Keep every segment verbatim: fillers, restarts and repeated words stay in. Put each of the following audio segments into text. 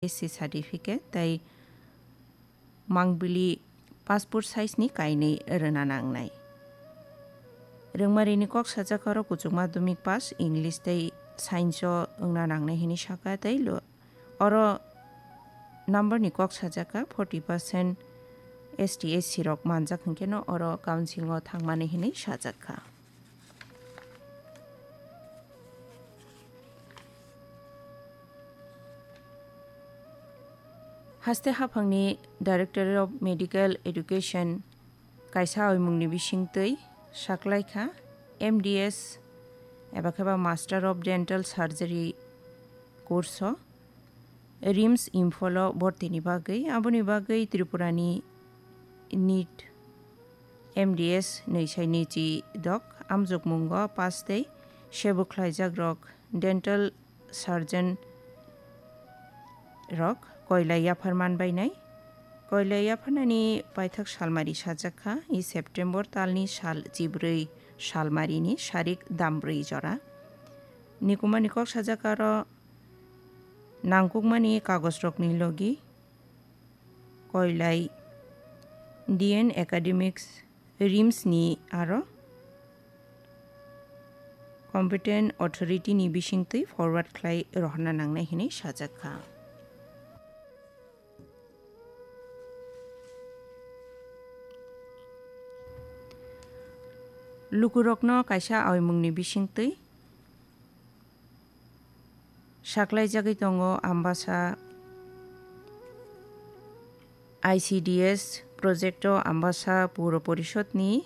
S C certificate tei mangbili passport size ni kainwi rwna nangnai. Rwngmarini kok sajak oro kuchuk madhyamik pass, English tei science o wngna nangnai hinwi sakha tei lo-, oro number ni kok sajak kha forty percent S T S C rok manjak hwnkhe no oro council o thangmani hinwi sajak kha. Haste haphangni Director of Medical Education kaisa oimungni bisingtwi saklaikha M D S eba khe ba Master of Dental Surgery course o RIMS Imphal o bortini bagwi. Aboni bagwi Tripurani NEET M D S nwi sai nwi chi dok amjokmungo pass tei sebo khlaijakrok dental surgeon rok koilai yaphar manbainai. Koilai yapharnani paithak salmari sajak kha, i September talni sal chibrwi salmarini sarik dambrwi jora. Nikumani kok sajak aro nangkukmani kagojrokni logi koilai D N Academics RIMS ni aro competent authority ni bisingtwi forward khlai rohorna nangnai hinwi sajak kha. Lukurokno kaisa oimungni bisingtwi saklaijagwi tongo Ambasa I C D S project o Ambasa Puro Porishod ni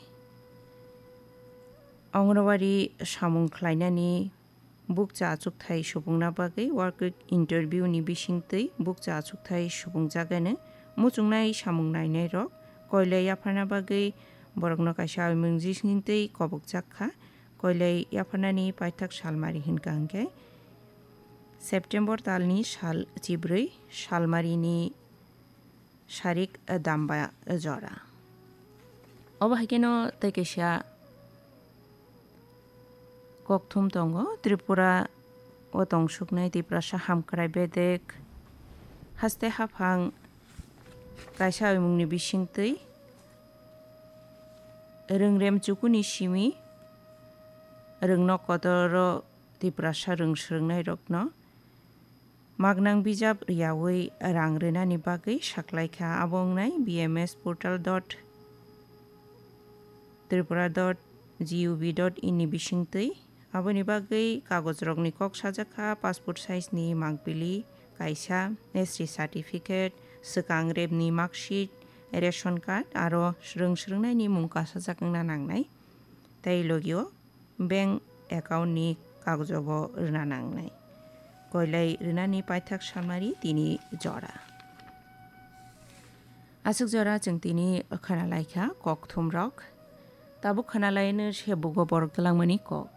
Anganwadi samung khlainani bukcha achukthai subungna bagwi walk-in interview ni bisingtwi bukcha achukthai subungjagani muchungnai samung nainai rok koilai yapharna bagwi borokno kaisa oimung bisingtwi kobokjak kha. Koilai yapharnani paithak salmari hinkha hinkhe September talni sal chibrwi salmarini sarik damba jora. Obo hai kheno tei kaisa kokthum tongo, Tripura o tongsuknai Tiprasa Hamkrai Bedek haste haphang kaisa oimungni bisingtwi rwngrem chukuni simi rwngnok kotoro Tiprasa rwng swrwngnairokno magnang bijap riyaui rang rwnani bagwi saklaikha. Abo wngnai B M S portal dot tripura dot G U V dot in ni bisingtwi. Aboni bagwi kagojrokni kok sajak kha, passport size ni mangpili kaisa, S T certificate, swkang repni marksheet, ration card aro swrwng swrwngnaini mung kasajak wngna nangnai. Tei logio bank account ni kagojobo rwna nangnai. Koilai rwnani paithak samari tini jora. Aswk jora chwng tini khwnalaikha kokthumrok. Tabuk khwnalaino se bugo borok twlangmani kok.